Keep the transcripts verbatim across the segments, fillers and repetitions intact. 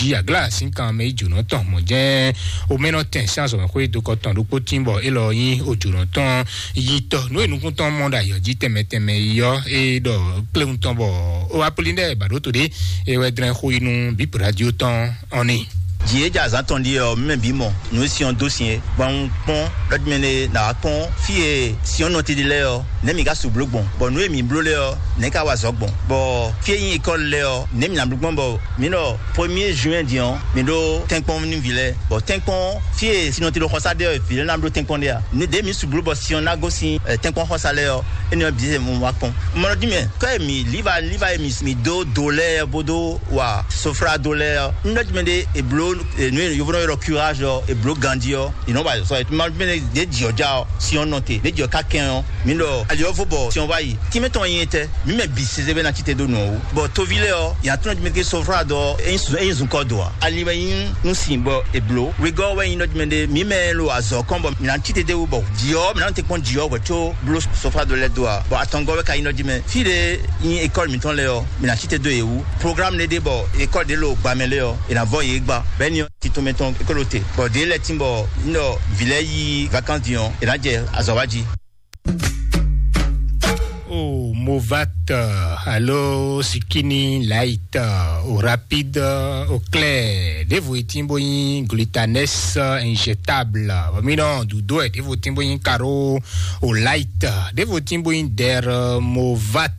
jí aglá sín kan mɛ yi jǒnɔ tɔn mɔ jɛ́n omɛnɔ tɛn sín azɔ̌mɛxwé dokɔ tɔn ɖokpó tín bɔ élɔ́ nyí ojǒnɔ tɔn yi tɔ nú e nukún tɔn mɔ ɖo ayɔ jí tɛnmɛ tɛnmɛ yi ɔ́ é ɖɔ kléwun tɔn bɔ ó wá plí ɖɛ bǎɖótó ɖé é wɛ dlɛ́n xó yi nú bíp radio tɔn ɔ́ ní. Jǐ e jɛ azǎn tɔn ɖíe ɔ́, mɛ bǐ mɔ nǔ e sin ɔ́ dó sin é, bɔ un kpɔ́n ɖɔ mɛ ɖé ná wá kpɔ́n fí e sin ɔ́ nɔ titli lɛ́ɛ ɔ́, nɛ̌ mǐ ka su bló gbɔn, bɔ nǔ e mǐ bló lɛ́ɛ ɔ́, nɛ̌ ka wa azɔ̌ gbɔn, bɔ fí e nyí ékɔ́li lɛ́ɛ ɔ́, nɛ̌ mǐ ná bló gbɔn, bɔ mǐ ɖɔ premier juin din ɔ́, mǐ ɖó tɛ́nkpɔ́n nú vǐ lɛ́ɛ, bɔ tɛ́nkpɔ́n fí e sin ɔ́ titli xɔsá ɖe ɔ́, vǐ lɛ́ɛ ná bló tɛ́nkpɔ́n ɖe a? Nǔ ɖě mǐ su bló bɔ sin ɔ́ ná gosín ɛ, tɛ́nkpɔ́n xɔsá lɛ́ɛ ɔ́, énɛ́ ɔ́ bǐ wɛ mo wá kpɔ́n. Un mɔ nɔ dín mɛ, kɔ e mǐ líva líva e mǐ mǐ dó do lɛ́ɛ bó dó wa soflado lɛ́ɛ ɔ́, un ɖɔ dín mɛ ɖé è bló, e, nǔ e yovónɔ ylɔ́ curage ɔ́, è bló ganjí ɔ́, è nɔ wa sɔ è ma dín mɛ ɖé ɖě jǐ ɔ́ já ɔ́, sin ɔ́ nɔ te, ɖě jǐ ɔ́ ka kɛn ɔ́, mǐ ɖɔ ali ɔ́ vo bɔ sin ɔ́ wá yi. Tínmɛ tɔn nyi etɛ, mǐ mɛ bǐ sese bɛ ná cí te dó nǔ ɔ́ wú. Bɔ toví lɛ́ɛ ɔ́, yě ná tlɔ́n dín mɛ ké soflado ɔ́, é nyí sun- é nyí zunkɔ do ǎ. Ali wɛ nyí nú sin bɔ è bló. Wegɔ́ wɛ nyí nɔ dín mɛ ɖé, mǐ mɛ lo azɔ̌ kɔn bɔ mǐ ná cí te dé wú bɔ jǐ ɔ́, mǐ ná tɛ́nkpɔ́n jǐ ɔ́ hwɛ̌ có bló soflado lɛ́ɛ dó ǎ. Bɔ atɔngɔ́ wɛ ka nyí nɔ dín mɛ. Fí ɖé nyí école mǐtɔn lɛ́ɛ ɔ́, mǐ ná cí te dó yě wú. Programme ɖé ɖe bɔ école ɖé lo gbamɛ lɛ́ɛ ɔ́, è nǎ vɔ yě gba. Bɛ́ni ɔ́, tito mɛtɔn é ko ɖo te. Bɔ ɖě lɛ́ɛ tín bɔ un ɖɔ vǐ lɛ́ɛ yí vacances din ɔ́, è nǎ jɛ azɔ̌ wá jí. O Movat, alo Sikini Light, o Rapide, o Claire, ɖěvo e tín bó nyí Glutanes injectable, bɔ mí nɔ dǔdó ɛ, ɖěvo tín bó nyí Caro, o Light, ɖěvo tín bó nyí Der Movat,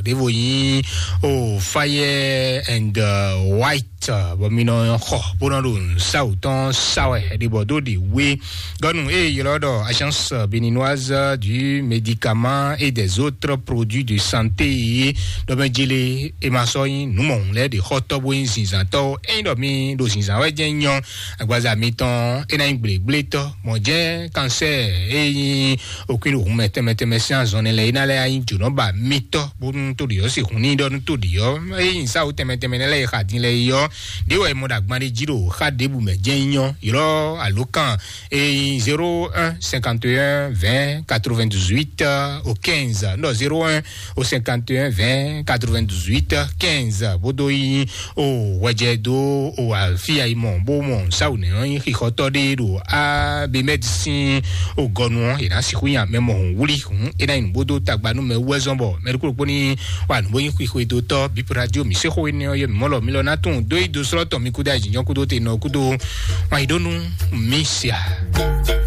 ɖěvo nyí o Fire and uh, White, bɔ mí nɔ xɔ bó nɔ ɖo nǔsáwǔ tɔn sá wɛ, ɖě bɔ dó ɖě wé. Gɔnu e ylɔ́ ɖɔ Agence Béninoise du Médicament et des Autres Produits de Santé é, ɖɔ mɛ jele e ma sɔ nyí nǔmɔhun lɛ́ɛ ɖe xɔtɔ́ bó nyí zinzantɔ́ ó. Ényí ɖɔ mi ɖo zinzan wɛ jɛ́n nyɔ, agbaza mitɔn é ná nyí gblégblétɔ́, mɔ̌ jɛ́n kansɛ́ɛ e nyí okúnɖohun mɛ tɛnmɛ tɛnmɛ sín azɔn nɛ lɛ́ɛ é ná lɛ́ nyí jǒnɔba mitɔ́, bónú tó ɖi ɔ́ sixú ní ɖɔ nú tó ɖi ɔ́. Ényí sáwó tɛnmɛ tɛnmɛ nɛ lɛ́ɛ e xa din lɛ́ɛ é ɔ́, ɖě wɛ è mɔ ɖo agban ɖé jí ɖo xá ɖěbǔ mɛ jɛ́n nyɔ, ylɔ́ alǒkan e nyí zéro un cinquante et un vingt quatre-vingt-dix-huit au quinze, non, zéro un au cinquante et un vingt quatre-vingt-dix-huit quinze, bó dó nyí o hwɛjɛ dó o afia yi mɔ bó mɔ sáwù nɛ ɔ́ nyí xixɔtɔ́ ɖé ɖo abemɛdi sín o gɔnu ɔ́, è nǎ sixú nya mɛ mɔ hǔn wlí hǔn é ná nyí nǔgbó dó tagba nú mɛ wú wɛ zɔn bɔ mɛ ɖokpó ɖokpó ní wa nǔgbó nyí xixwedótɔ́ bípo radio mǐ sexó énɛ́ ɔ́ yɛ mǐ mɔ lɔ mǐ lɔ ná tunwun dó yi dó slɔ́ tɔn mi kúdó ayǐjínjɔ́n kúdó te nɔ kúdó wanyíɖónú mǐ sia.